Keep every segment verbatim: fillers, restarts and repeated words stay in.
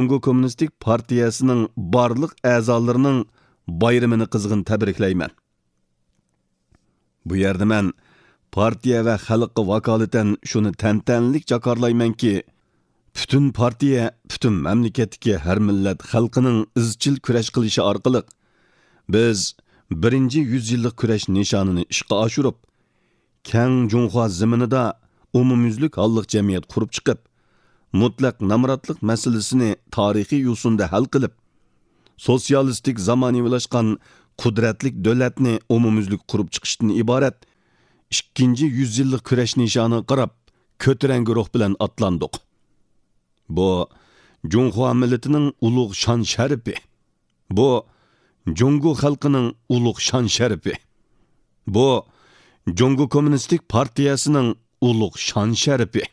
جۇڭگو كوممۇنىستىك پارتىيەسىنىڭ بارلىق ئەزالىرىنىڭ بايرىمىنى قىزغىن تەبرىكلەيمەن. بۇ يەردە مەن پارتىيە ۋە خەلققە ۋاكالىتەن شۇنى تەنتەنىلىك جاكارلايمەنكى، پۈتۈن پارتىيە، پۈتۈن مەملىكەتتىكى ھەر مىللەت خەلقىنىڭ ئىزچىل كۈرەش قىلىشى ئارقىلىق، بىز بىرىنچى يۈز يىللىق كۈرەش نىشانىنى ئىشقا ئاشۇرۇپ، كەڭ جۇڭخۇا زېمىنىدا ئومۇميۈزلۈك ھاللىق جەمئىيەت قۇرۇپ چىقىپ، مۇتلەق نامراتلىق مەسىلىسىنى تارىخىي يوسۇندا ھەل قىلىپ، سوتسىيالىستىك زامانىۋىلاشقان قۇدرەتلىك دۆلەتنى ئومۇميۈزلۈك قۇرۇپ چىقىشتىن ئىبارەت ئىككىنچى يۈز يىللىق كۈرەش نىشانىغا قاراپ، كۆتۈرەڭگۈ روھ بىلەن ئاتلاندۇق. بۇ جۇڭخۇا مىللىتىنىڭ ئۇلۇغ شان-شەرىپى. بۇ جۇڭگو خەلقىنىڭ ئۇلۇغ شان-شەرىپى. بۇ جۇڭگو كوممۇنىستىك پارتىيەسىنىڭ ئۇلۇغ شان-شەرىپى.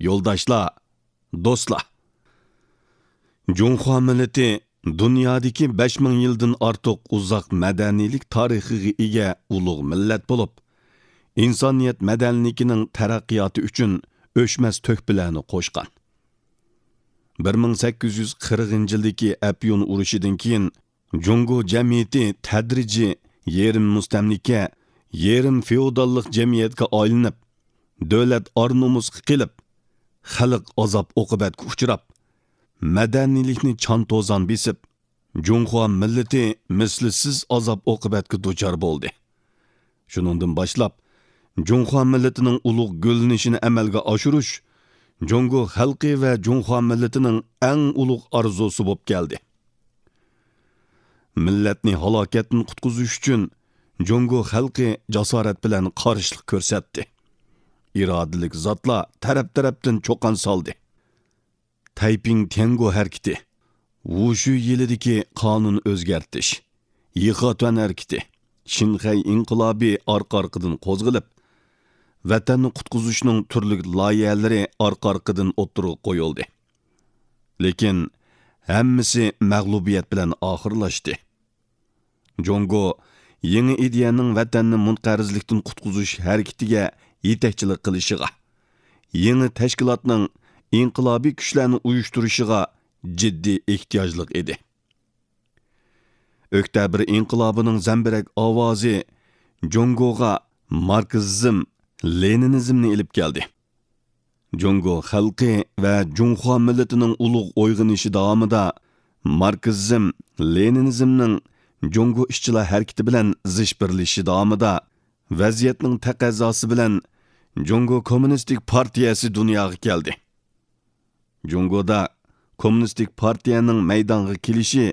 يولداشلار، دوستلار! جۇڭخۇا مىللىتى دۇنيادىكى بەش مىڭ يىلدىن ئارتۇق ئۇزاق مەدەنىيلىك تارىخىغا ئىگە ئۇلۇغ مىللەت بولۇپ، ئىنسانىيەت مەدەنىيلىكىنىڭ تەرەققىياتى ئۈچۈن ئۆچمەس تۆھپىلەرنى قوشقان. بىر مىڭ سەككىز يۈز قىرىقىنچى يىلدىكى ئەپيۈن ئۇرۇشىدىن كېيىن، جۇڭگو جەمئىيىتى تەدرىجىي يېرىم مۇستەملىكە، يېرىم فېئوداللىق جەمئىيەتكە ئايلىنىپ، دۆلەت ئار-نومۇسقا قېلىپ، خەلق ئازاب-ئوقۇبەتكە ئۇچراپ، مەدەنىيلىكنى چان-توزان بېسىپ، جۇڭخۇا مىللىتى مىسلىسىز ئازاب-ئوقۇبەتكە دۇچار بولدى. شۇنىڭدىن باشلاپ، جۇڭخۇا مىللىتىنىڭ ئۇلۇغ گۈللىنىشىنى ئەمەلگە ئاشۇرۇش جۇڭگو خەلقى ۋە جۇڭخۇا مىللىتىنىڭ ئەڭ ئۇلۇغ ئارزۇسى بولۇپ كەلدى. مىللەتنى ھالاكەتتىن قۇتقۇزۇش ئۈچۈن جۇڭگو خەلقى جاسارەت بىلەن قارشىلىق كۆرسەتتى. ئىرادىلىك زاتلار تەرەپ-تەرەپتىن چۇقان سالدى. تەيپىڭ تيەنگو ھەرىكىتى، ۋۇشۈ يىلىدىكى قانۇن ئۆزگەرتىش، يىخاتۈەن ھەرىكىتى، شىنخەي ئىنقىلابى ئارقا-ئارقىدىن قوزغىلىپ، ۋەتەننى قۇتقۇزۇشنىڭ تۈرلۈك لايىھەلىرى ئارقا-ئارقىدىن ئوتتۇرىغا قويۇلدى. لېكىن ھەممىسى مەغلۇبىيەت بىلەن ئاخىرلاشتى. جۇڭگو يېڭى ئىدىيەنىڭ ۋەتەننى مۇنقەرزلىكتىن قۇتقۇزۇش ھەرىكىتىگە يېتەكچىلىك قىلىشىغا، يېڭى تەشكىلاتنىڭ ئىنقىلابىي كۈچلەرنى ئۇيۇشتۇرۇشىغا جىددىي ئېھتىياجلىق ئىدى. ئۆكتەبىر ئىنقىلابىنىڭ زەمبىرەك ئاۋازى جۇڭگوغا ماركسىزم، لېنىنىزمنى ئېلىپ كەلدى. جۇڭگو خەلقى ۋە جۇڭخۇا مىللىتىنىڭ ئۇلۇغ ئويغىنىشى داۋامىدا ماركسىزم، لېنىنىزمنىڭ جۇڭگو ئىشچىلار ھەرىكىتى بىلەن زىچ بىرلىشىشى داۋامىدا ۋەزىيەتنىڭ تەقەززاسى بىلەن جۇڭگو كوممۇنىستىك پارتىيەسى دۇنياغا كەلدى. جۇڭگودا كوممۇنىستىك پارتىيەنىڭ مەيدانغا كېلىشى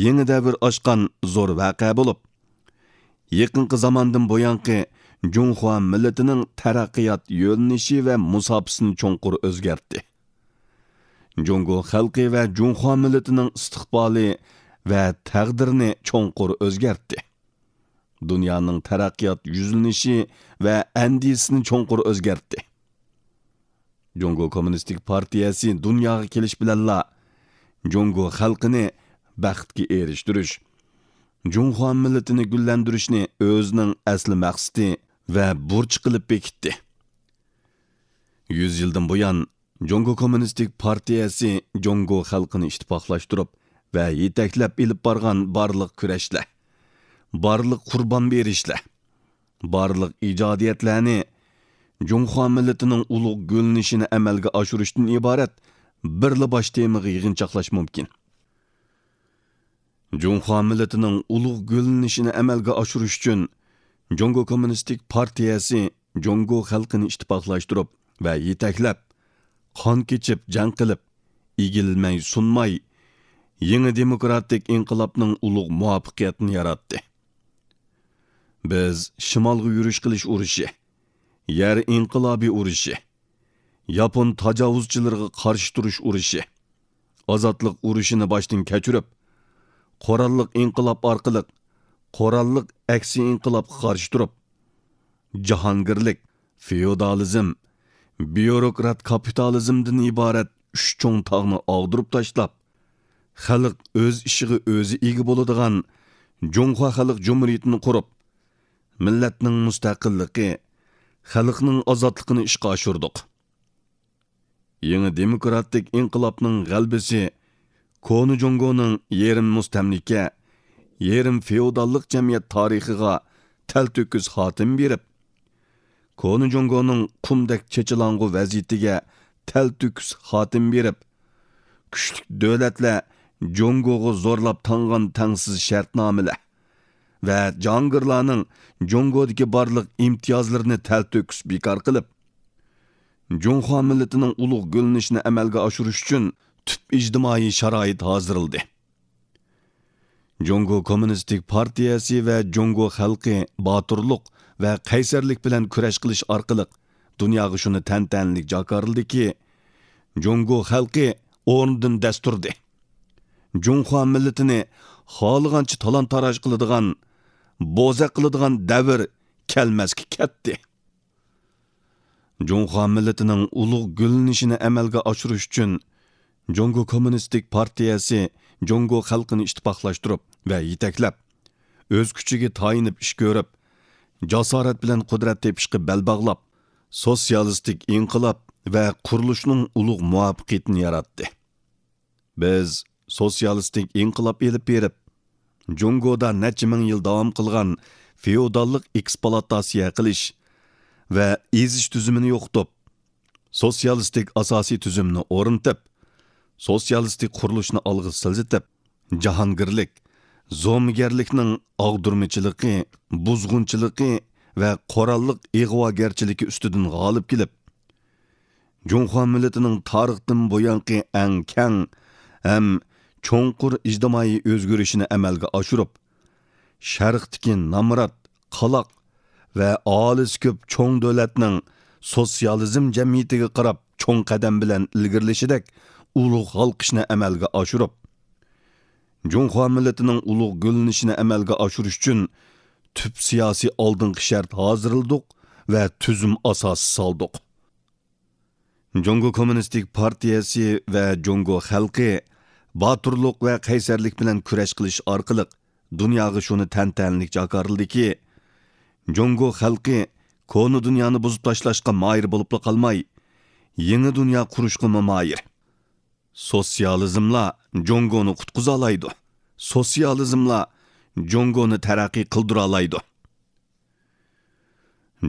يېڭى دەۋر ئاچقان زور ۋەقە بولۇپ، يېقىنقى زاماندىن بۇيانقى جۇڭخۇا مىللىتىنىڭ تەرەققىيات يۆنىلىشى ۋە مۇساپىسىنى چوڭقۇر ئۆزگەرتتى. جۇڭگو خەلقى ۋە جۇڭخۇا مىللىتىنىڭ ئىستىقبالى ۋە تەقدىرىنى چوڭقۇر ئۆزگەرتتى. دۇنيانىڭ تەرەققىيات يۈزلىنىشى ۋە ئەندىزىسىنى چوڭقۇر ئۆزگەرتتى. جۇڭگو كوممۇنىستىك پارتىيەسى دۇنياغا كېلىش بىلەنلا جۇڭگو خەلقىنى بەختكە ئېرىشتۈرۈش، جۇڭخۇا مىللىتىنى گۈللەندۈرۈشنى ئۆزىنىڭ ئەسلى مەقسىتى ۋە بۇرچى قىلىپ بېكىتتى. يۈز يىلدىن بۇيان، جۇڭگو كوممۇنىستىك پارتىيەسى جۇڭگو خەلقىنى ئىتتىپاقلاشتۇرۇپ ۋە يېتەكلەپ ئېلىپ بارغان بارلىق كۈرەشلەر، بارلىق قۇربان بېرىشلەر، بارلىق ئىجادىيەتلەرنى جۇڭخۇا مىللىتىنىڭ ئۇلۇغ گۈللىنىشىنى ئەمەلگە ئاشۇرۇشتىن ئىبارەت بىرلا باش تېمىغا يىغىنچاقلاش مۇمكىن. جۇڭخۇا مىللىتىنىڭ ئۇلۇغ گۈللىنىشىنى ئەمەلگە ئاشۇرۇش ئۈچۈن، جۇڭگو كوممۇنىستىك پارتىيەسى جۇڭگو خەلقىنى ئىتتىپاقلاشتۇرۇپ ۋە يېتەكلەپ، قان كېچىپ جەڭ قىلىپ، ئېگىلمەي سۇنماي، يېڭى دېموكراتىك ئىنقىلابنىڭ ئۇلۇغ مۇۋەپپەقىيىتىنى ياراتتى. بىز شىمالغا يۈرۈش قىلىش ئۇرۇشى، يەر ئىنقىلابى ئۇرۇشى، ياپون تاجاۋۇزچىلىرىغا قارشى تۇرۇش ئۇرۇشى، ئازادلىق ئۇرۇشىنى باشتىن كەچۈرۈپ، قوراللىق ئىنقىلاب ئارقىلىق قوراللىق ئەكسىي ئىنقىلابقا قارشى تۇرۇپ، جاھانگىرلىك، فېئودالىزم، بيۇروكرات كاپىتالىزمدىن ئىبارەت ئۈچ چوڭ تاغنى ئاغدۇرۇپ تاشلاپ، خەلق ئۆز ئىشىغا ئۆزى ئىگە بولىدىغان جۇڭخۇا خەلق جۇمھۇرىيىتىنى قۇرۇپ، مىللەتنىڭ مۇستەقىللىقى، خەلقنىڭ ئازادلىقىنى ئىشقا ئاشۇردۇق. يېڭى دېموكراتىك ئىنقىلابنىڭ غەلىبىسى كونا جۇڭگونىڭ يېرىم مۇستەملىكە، يېرىم فېئوداللىق جەمئىيەت تارىخىغا تەلتۆكۈس خاتىمە بېرىپ، كونا جۇڭگونىڭ قۇمدەك چېچىلاڭغۇ ۋەزىيىتىگە تەلتۆكۈس خاتىمە بېرىپ، كۈچلۈك دۆلەتلەر جۇڭگوغا زورلاپ تاڭغان تەڭسىز شەرتنامىلەر ۋە جاھانگىرلارنىڭ جۇڭگودىكى بارلىق ئىمتىيازلىرىنى تەلتۆكۈس بىكار قىلىپ، جۇڭخۇا مىللىتىنىڭ ئۇلۇغ گۈللىنىشىنى ئەمەلگە ئاشۇرۇش ئۈچۈن تۈپ ئىجتىمائىي شارائىت ھازىرلىدى. جۇڭگو كوممۇنىستىك پارتىيەسى ۋە جۇڭگو خەلقى باتۇرلۇق ۋە قەيسەرلىك بىلەن كۈرەش قىلىش ئارقىلىق دۇنياغا شۇنى تەنتەنىلىك جاكارلىدىكى، جۇڭگو خەلقى ئورنىدىن دەس تۇردى. جۇڭخۇا مىللىتىنى خالىغانچە تالان-تاراج قىلىدىغان، بوزەك قىلىدىغان دەۋر كەلمەسكە كەتتى. جۇڭخۇا مىللىتىنىڭ ئۇلۇغ گۈللىنىشىنى ئەمەلگە ئاشۇرۇش ئۈچۈن، جۇڭگو كوممۇنىستىك پارتىيەسى جۇڭگو خەلقىنى ئىتتىپاقلاشتۇرۇپ ۋە يېتەكلەپ، ئۆز كۈچىگە تايىنىپ ئىش كۆرۈپ، جاسارەت بىلەن قۇدرەت تېپىشقا بەل باغلاپ، سوتسىيالىستىك ئىنقىلاب ۋە قۇرۇلۇشنىڭ ئۇلۇغ مۇۋەپپەقىيىتىنى ياراتتى. بىز سوتسىيالىستىك ئىنقىلاب ئېلىپ بېرىپ، جۇڭگودا نەچچە مىڭ يىل داۋام قىلغان فېئوداللىق ئېكسپلۇئاتاتسىيە قىلىش ۋە ئېزىش تۈزۈمىنى يوقىتىپ، سوتسىيالىستىك ئاساسىي تۈزۈمنى ئورنىتىپ، سوتسىيالىستىك قۇرۇلۇشنى ئالغا سىلجىتىپ، جاھانگىرلىك، زومىگەرلىكنىڭ ئاغدۇرمىچىلىقى، بۇزغۇنچىلىقى ۋە قوراللىق ئىغۋاگەرچىلىكى ئۈستىدىن غالىب كېلىپ، جۇڭخۇا مىللىتىنىڭ تارىختىن بۇيانقى ئەڭ كەڭ ھەم چوڭقۇر ئىجتىمائىي ئۆزگىرىشىنى ئەمەلگە ئاشۇرۇپ، شەرقتىكى نامرات، قالاق ۋە ئاھالىسى كۆپ چوڭ دۆلەتنىڭ سوتسىيالىزم جەمئىيىتىگە قاراپ چوڭ قەدەم بىلەن ئىلگىرىلىشىدەك ئۇلۇغ ھالقىشنى ئەمەلگە ئاشۇرۇپ، جۇڭخۇا مىللىتىنىڭ ئۇلۇغ گۈللىنىشىنى ئەمەلگە ئاشۇرۇش ئۈچۈن تۈپ سىياسىي ئالدىنقى شەرت ھازىرلىدۇق ۋە تۈزۈم ئاساسى سالدۇق. جۇڭگو كوممۇنىستىك پارتىيەسى ۋە جۇڭگو خەلقى باتۇرلۇق ۋە قەيسەرلىك بىلەن كۈرەش قىلىش ئارقىلىق دۇنياغا شۇنى تەنتەنىلىك جاكارلىدىكى، جۇڭگو خەلقى كونا دۇنيانى بۇزۇپ تاشلاشقا ماھىر بولۇپلا قالماي، يېڭى دۇنيا قۇرۇشقىمۇ ماھىر. سوتسىيالىزملا جۇڭگونى قۇتقۇزالايدۇ. سوتسىيالىزملا جۇڭگونى تەرەققىي قىلدۇرالايدۇ.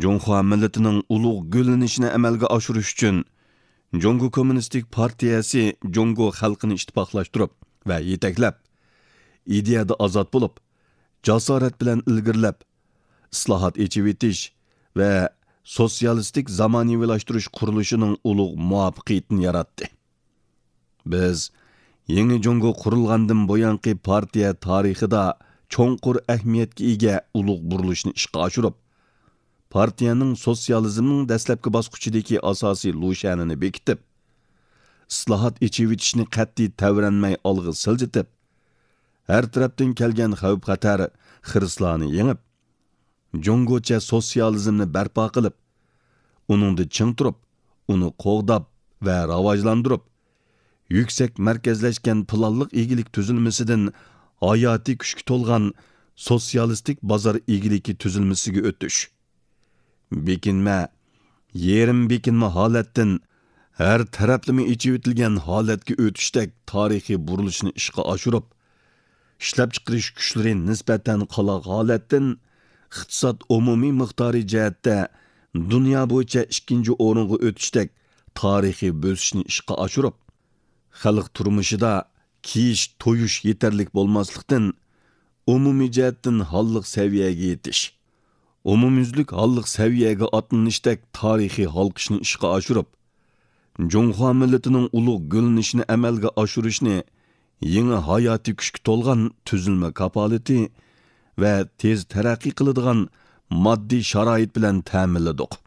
جۇڭخۇا مىللىتىنىڭ ئۇلۇغ گۈللىنىشىنى ئەمەلگە ئاشۇرۇش ئۈچۈن، جۇڭگو كوممۇنىستىك پارتىيەسى جۇڭگو خەلقىنى ئىتتىپاقلاشتۇرۇپ ۋە يېتەكلەپ، ئىدىيەدە ئازاد بولۇپ، جاسارەت بىلەن ئىلگىرىلەپ، ئىسلاھات، ئېچىۋېتىش ۋە سوتسىيالىستىك زامانىۋىلاشتۇرۇش قۇرۇلۇشىنىڭ ئۇلۇغ مۇۋەپپەقىيىتىنى ياراتتى. بىز يېڭى جۇڭگو قۇرۇلغاندىن بۇيانقى پارتىيە تارىخىدا چوڭقۇر ئەھمىيەتكە ئىگە ئۇلۇغ بۇرۇلۇشنى ئىشقا ئاشۇرۇپ، پارتىيەنىڭ سوتسىيالىزمنىڭ دەسلەپكى باسقۇچىدىكى ئاساسىي لۇشيەنىنى بېكىتىپ، ئىسلاھات، ئېچىۋېتىشنى قەتئىي تەۋرەنمەي ئالغا سىلجىتىپ، ھەر تەرەپتىن كەلگەن خەۋپ-خەتەر، خىرىسلارنى يېڭىپ، جۇڭگوچە سوتسىيالىزمنى بەرپا قىلىپ، ئۇنىڭدا چىڭ تۇرۇپ، ئۇنى قوغداپ ۋە راۋاجلاندۇرۇپ، يۈكسەك مەركەزلەشكەن پىلانلىق ئىگىلىك تۈزۈلمىسىدىن ھاياتىي كۈچكە تولغان سوتسىيالىستىك بازار ئىگىلىكى تۈزۈلمىسىگە ئۆتۈش. بېكىنمە، يېرىم بېكىنمە ھالەتتىن ھەر تەرەپلىمە ئېچىۋېتىلگەن ھالەتكە ئۆتۈشتەك تارىخىي بۇرۇلۇشنى ئىشقا ئاشۇرۇپ، ئىشلەپچىقىرىش كۈچلىرى نىسبەتەن قالاق ھالەتتىن ئىقتىساد ئومۇمىي مىقدارى جەھەتتە دۇنيا بويىچە ئىككىنچى ئورۇنغا ئۆتۈشتەك تارىخىي بۆسۈشنى ئىشقا ئاشۇرۇپ، خەلق تۇرمۇشىدا كىيىش، تويۇش يېتەرلىك بولماسلىقتىن، ئومۇمىي جەھەتتىن ھاللىق سەۋىيەگە يېتىش، ئومۇميۈزلۈك ھاللىق سەۋىيەگە ئاتلىنىشتەك تارىخىي ھالقىشنى ئىشقا ئاشۇرۇپ، جۇڭخۇا مىللىتىنىڭ ئۇلۇغ گۈللىنىشىنى ئەمەلگە ئاشۇرۇشنى يېڭى ھاياتىي كۈچكە تولغان تۈزۈلمە كاپالىتى ۋە تېز تەرەققىي قىلىدىغان ماددىي شارائىت بىلەن تەمىنلىدۇق.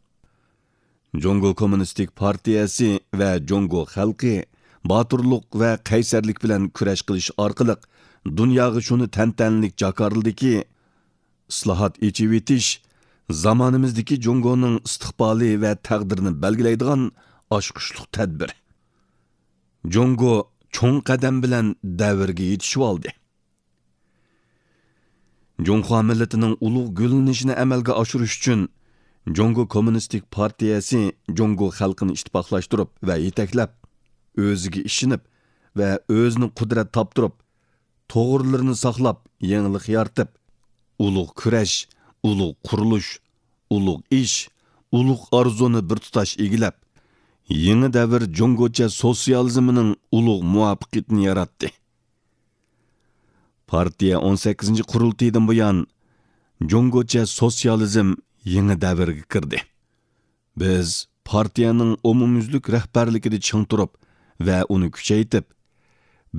جۇڭگو كوممۇنىستىك پارتىيەسى ۋە جۇڭگو خەلقى باتۇرلۇق ۋە قەيسەرلىك بىلەن كۈرەش قىلىش ئارقىلىق دۇنياغا شۇنى تەنتەنىلىك جاكارلىدىكى، ئىسلاھات، ئېچىۋېتىش زامانىمىزدىكى جۇڭگونىڭ ئىستىقبالى ۋە تەقدىرىنى بەلگىلەيدىغان ئاچقۇچلۇق تەدبىر. جۇڭگو چوڭ قەدەم بىلەن دەۋرگە يېتىشىۋالدى. جۇڭخۇا مىللىتىنىڭ ئۇلۇغ گۈللىنىشىنى ئەمەلگە ئاشۇرۇش ئۈچۈن، جۇڭگو كوممۇنىستىك پارتىيەسى جۇڭگو خەلقىنى ئىتتىپاقلاشتۇرۇپ ۋە يېتەكلەپ، ئۆزىگە ئىشىنىپ ۋە ئۆزىنى قۇدرەت تاپتۇرۇپ، توغرىلىرىنى ساقلاپ، يېڭىلىق يارىتىپ، ئۇلۇغ كۈرەش، ئۇلۇغ قۇرۇلۇش، ئۇلۇغ ئىش، ئۇلۇغ ئارزۇنى بىر تۇتاش ئىگىلەپ، يېڭى دەۋر جۇڭگوچە سوتسىيالىزمىنىڭ ئۇلۇغ مۇۋەپپەقىيىتىنى ياراتتى. پارتىيە ئون سەككىزىنچى قۇرۇلتىيىدىن بۇيان، جۇڭگوچە سوتسىيالىزم يېڭى دەۋرگە كىردى. بىز پارتىيەنىڭ ئومۇميۈزلۈك رەھبەرلىكىدە چىڭ تۇرۇپ ۋە ئۇنى كۈچەيتىپ،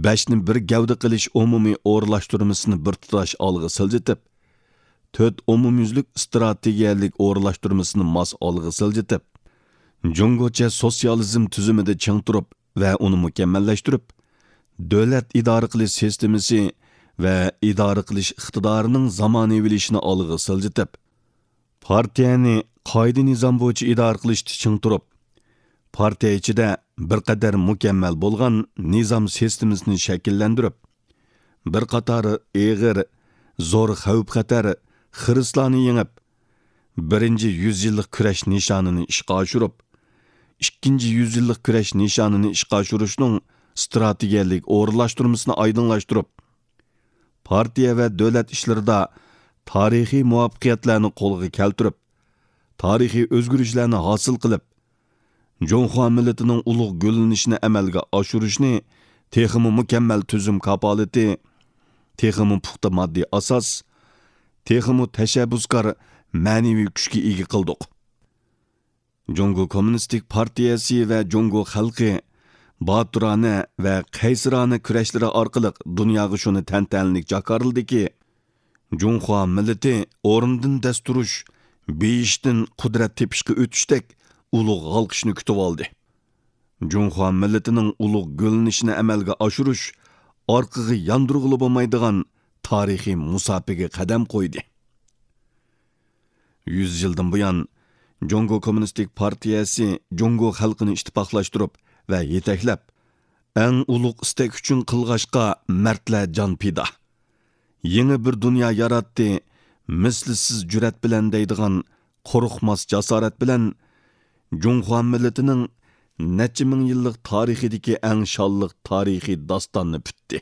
بەشنى بىر گەۋدە قىلىش ئومۇمىي ئورۇنلاشتۇرمىسىنى بىر تۇتاش ئالغا سىلجىتىپ، تۆت ئومۇميۈزلۈك ئىستراتېگىيەلىك ئورۇنلاشتۇرمىسىنى ماس ئالغا سىلجىتىپ، جۇڭگوچە سوتسىيالىزم تۈزۈمىدە چىڭ تۇرۇپ ۋە ئۇنى مۇكەممەللەشتۈرۈپ، دۆلەت ئىدارە قىلىش سىستېمىسى ۋە ئىدارە قىلىش ئىقتىدارىنىڭ زامانىۋىلىشىشىنى ئالغا سىلجىتىپ، پارتىيەنى قائىدە-نىزام بويىچە ئىدارە قىلىشتا چىڭ تۇرۇپ، پارتىيە ئىچىدە بىر قەدەر مۇكەممەل بولغان نىزام سىستېمىسىنى شەكىللەندۈرۈپ، بىر قاتار ئېغىر، زور خەۋپ-خەتەر، خىرىسلارنى يېڭىپ، بىرىنچى يۈز يىللىق كۈرەش نىشانىنى ئىشقا ئاشۇرۇپ، ئىككىنچى يۈز يىللىق كۈرەش نىشانىنى ئىشقا ئاشۇرۇشنىڭ ئىستراتېگىيەلىك ئورۇنلاشتۇرمىسىنى ئايدىڭلاشتۇرۇپ، پارتىيە ۋە دۆلەت ئىشلىرىدا تارىخىي مۇۋەپپەقىيەتلەرنى قولغا كەلتۈرۈپ، تارىخىي ئۆزگىرىشلەرنى ھاسىل قىلىپ، جۇڭخۇا مىللىتىنىڭ ئۇلۇغ گۈللىنىشىنى ئەمەلگە ئاشۇرۇشنى تېخىمۇ مۇكەممەل تۈزۈم كاپالىتى، تېخىمۇ پۇختا ماددىي ئاساس، تېخىمۇ تەشەببۇسكار مەنىۋى كۈچكە ئىگە قىلدۇق. جۇڭگو كوممۇنىستىك پارتىيەسى ۋە جۇڭگو خەلقى باتۇرانە ۋە قەيسىرانە كۈرەشلىرى ئارقىلىق دۇنياغا شۇنى تەنتەنىلىك جاكارلىدىكى، جۇڭخۇا مىللىتى ئورنىدىن دەس تۇرۇش، بېيىشتىن قۇدرەت تېپىشقا ئۆتۈشتەك ئۇلۇغ ھالقىشنى كۈتۈۋالدى. جۇڭخۇا مىللىتىنىڭ ئۇلۇغ گۈللىنىشىنى ئەمەلگە ئاشۇرۇش ئارقىغا ياندۇرغىلى بولمايدىغان تارىخىي مۇساپىگە قەدەم قويدى. يۈز يىلدىن بۇيان، جۇڭگو كوممۇنىستىك پارتىيەسى جۇڭگو خەلقىنى ئىتتىپاقلاشتۇرۇپ ۋە يېتەكلەپ، ئەڭ ئۇلۇغ ئىستەك ئۈچۈن قىلغاچقا مەردلەر جان پىدا. يېڭى بىر دۇنيا ياراتتى، مىسلىسىز جۈرئەت بىلەن دەيدىغان قورقماس جاسارەت بىلەن جۇڭخۇا مىللىتىنىڭ نەچچە مىڭ يىللىق تارىخىدىكى ئەڭ شانلىق تارىخىي داستاننى پۈتتى.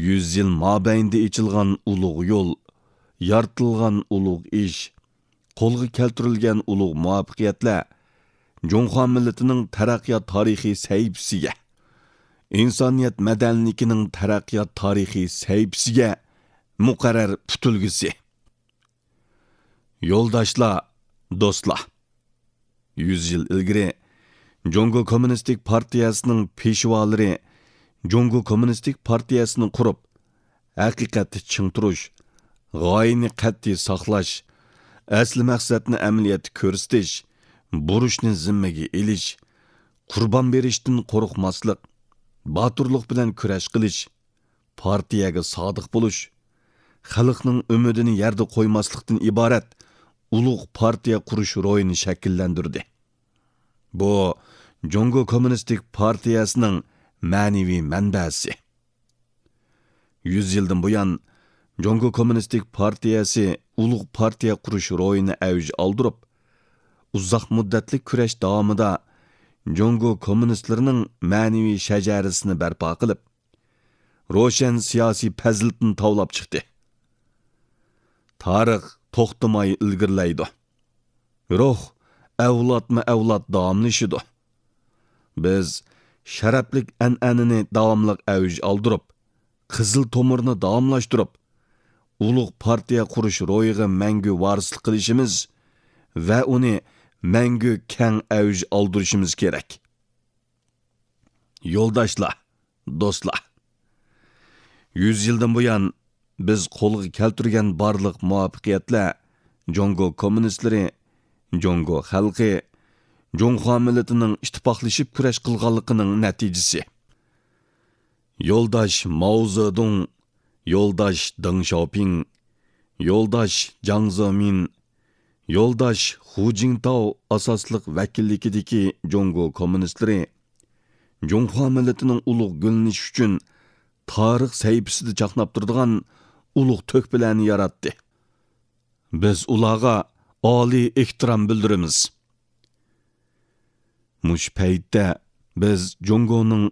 يۈز يىل مابەينىدە ئېچىلغان ئۇلۇغ يول، يارىتىلغان ئۇلۇغ ئىش، قولغا كەلتۈرۈلگەن ئۇلۇغ مۇۋەپپەقىيەتلەر جۇڭخۇا مىللىتىنىڭ تەرەققىيات تارىخىي سەھىپىسىگە، ئىنسانىيەت مەدەنىيلىكىنىڭ تەرەققىيات تارىخىي سەھىپىسىگە مۇقەررەر پۈتۈلگۈسى. يولداشلار، دوستلار! يۈز يىل ئىلگىرى جۇڭگو كوممۇنىستىك پارتىيەسىنىڭ پېشۋالىرى جۇڭگو كوممۇنىستىك پارتىيەسىنى قۇرۇپ، ھەقىقەتتە چىڭ تۇرۇش، غايىنى قەتئىي ساقلاش، ئەسلى مەقسەتنى ئەمەلىيەتتە كۆرسىتىش، بۇرچنى زىممىگە ئېلىش، قۇربان بېرىشتىن قورقماسلىق، باتۇرلۇق بىلەن كۈرەش قىلىش، پارتىيەگە سادىق بولۇش، خەلقنىڭ ئۈمىدىنى يەردە قويماسلىقتىن ئىبارەت ئۇلۇغ پارتىيە قۇرۇش روھىنى شەكىللەندۈردى. بۇ جۇڭگو كوممۇنىستىك پارتىيەسىنىڭ مەنىۋى مەنبەسى. يۈز يىلدىن بۇيان، جۇڭگو كوممۇنىستىك پارتىيەسى ئۇلۇغ پارتىيە قۇرۇش روھىنى ئەۋج ئالدۇرۇپ، ئۇزاق مۇددەتلىك كۈرەش داۋامىدا جۇڭگو كوممۇنىستلىرىنىڭ مەنىۋى شەجەرىسىنى بەرپا قىلىپ، روشەن سىياسىي پەزىلىتىنى تاۋلاپ چىقتى. تارىخ توختىماي ئىلگىرىلەيدۇ. روھ ئەۋلادمۇ ئەۋلاد داۋاملىشىدۇ. بىز شەرەپلىك ئەنئەنىنى داۋاملىق ئەۋج ئالدۇرۇپ، قىزىل تومۇرنى داۋاملاشتۇرۇپ، ئۇلۇغ پارتىيە قۇرۇش روھىغا مەڭگۈ ۋارىسلىق قىلىشىمىز ۋە ئۇنى مەڭگۈ كەڭ ئەۋج ئالدۇرۇشىمىز كېرەك. يولداشلار، دوستلار! يۈز يىلدىن بۇيان بىز قولغا كەلتۈرگەن بارلىق مۇۋەپپەقىيەتلەر جۇڭگو كوممۇنىستلىرى، جۇڭگو خەلقى، جۇڭخۇا مىللىتىنىڭ ئىتتىپاقلىشىپ كۈرەش قىلغانلىقىنىڭ نەتىجىسى. يولداش ماۋ زېدۇڭ، يولداش دېڭ شياۋپىڭ، يولداش جياڭ زېمىن، يولداش خۇ جىڭتاۋ ئاساسلىق ۋەكىللىكىدىكى جۇڭگو كوممۇنىستلىرى جۇڭخۇا مىللىتىنىڭ ئۇلۇغ گۈللىنىشى ئۈچۈن تارىخ سەھىپىسىدە چاقناپ تۇرىدىغان ئۇلۇغ تۆھپىلەرنى ياراتتى. بىز ئۇلارغا ئالىي ئېھتىرام بىلدۈرىمىز. مۇشۇ پەيتتە بىز جۇڭگونىڭ